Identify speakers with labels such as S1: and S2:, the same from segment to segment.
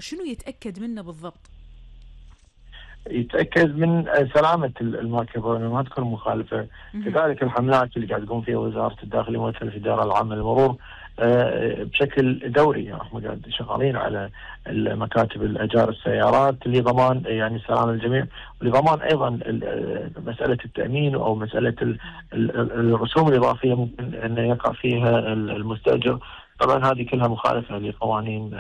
S1: شنو يتأكد منه بالضبط؟
S2: يتأكد من سلامة المركبة وأنها ما تكون مخالفة. كذلك الحملات اللي قاعد تقوم فيها وزارة الداخلية وممثل في الإدارة العامة للمرور بشكل دوري. يعني احنا قاعد شغالين على مكاتب الأجار السيارات لضمان يعني سلام الجميع، ولضمان أيضا مسألة التأمين أو مسألة الرسوم الإضافية ممكن أن يقع فيها المستأجر. طبعا هذه كلها مخالفة لقوانين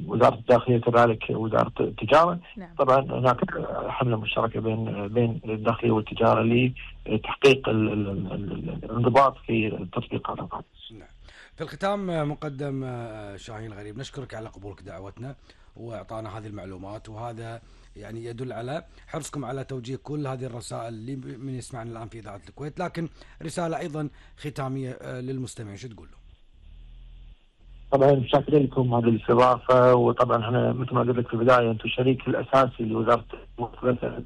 S2: وزارة الداخلية كذلك وزارة التجارة.
S1: نعم.
S2: طبعا هناك حملة مشتركة بين الداخلية والتجارة لتحقيق الانضباط في تطبيق هذا القانون.
S3: نعم. في الختام مقدم شاهين الغريب، نشكرك على قبولك دعوتنا واعطانا هذه المعلومات، وهذا يعني يدل على حرصكم على توجيه كل هذه الرسائل اللي من يسمعنا الآن في إذاعة الكويت. لكن رسالة أيضا ختامية للمستمعين شو تقول له؟
S2: طبعا شاكر لكم هذه الاستضافة، وطبعا احنا مثل ما قلت لك في البداية انتم الشريك الاساسي لوزارة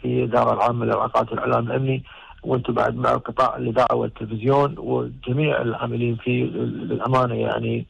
S2: في الإدارة العامة للعلاقات والاعلام الامني، وانتم بعد مع قطاع الاذاعة والتلفزيون وجميع العاملين فيه للامانة يعني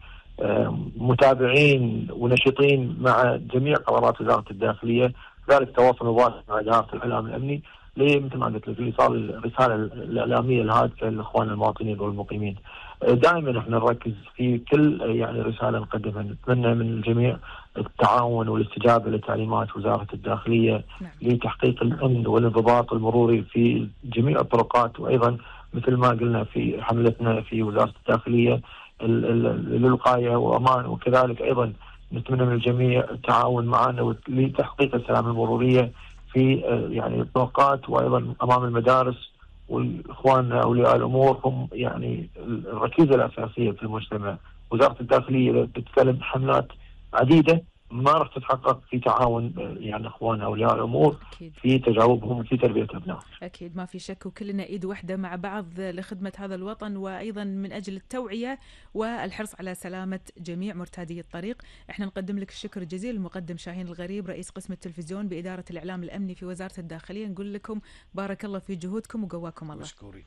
S2: متابعين ونشيطين مع جميع قرارات وزارة الداخلية. ذلك تواصل مباشر مع إدارة الاعلام الامني مثل ما قلت لك لايصال الرسالة الاعلامية الهادفة للاخوان المواطنين والمقيمين. دائما احنا نركز في كل يعني رساله نقدمها، نتمنى من الجميع التعاون والاستجابه لتعليمات وزاره الداخليه لتحقيق الامن والانضباط المروري في جميع الطرقات، وايضا مثل ما قلنا في حملتنا في وزاره الداخليه للوقايه وامان. وكذلك ايضا نتمنى من الجميع التعاون معنا لتحقيق السلامه المروريه في يعني الطرقات وايضا امام المدارس. واخواننا اولياء الامور هم يعني الركيزه الاساسيه في المجتمع. وزاره الداخليه بتتكلم حملات عديده ما راح تتحقق في تعاون يعني اخواننا اولياء الامور
S1: أكيد.
S2: في تجاوبهم وفي تربيه ابنائهم.
S1: أكيد ما في شك، وكلنا إيد واحدة مع بعض لخدمة هذا الوطن، وأيضا من أجل التوعية والحرص على سلامة جميع مرتادي الطريق. احنا نقدم لك الشكر الجزيل المقدم شاهين الغريب رئيس قسم التلفزيون بإدارة الإعلام الأمني في وزارة الداخلية. نقول لكم بارك الله في جهودكم وقواكم الله.
S3: مشكورين.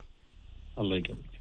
S2: الله يقويك.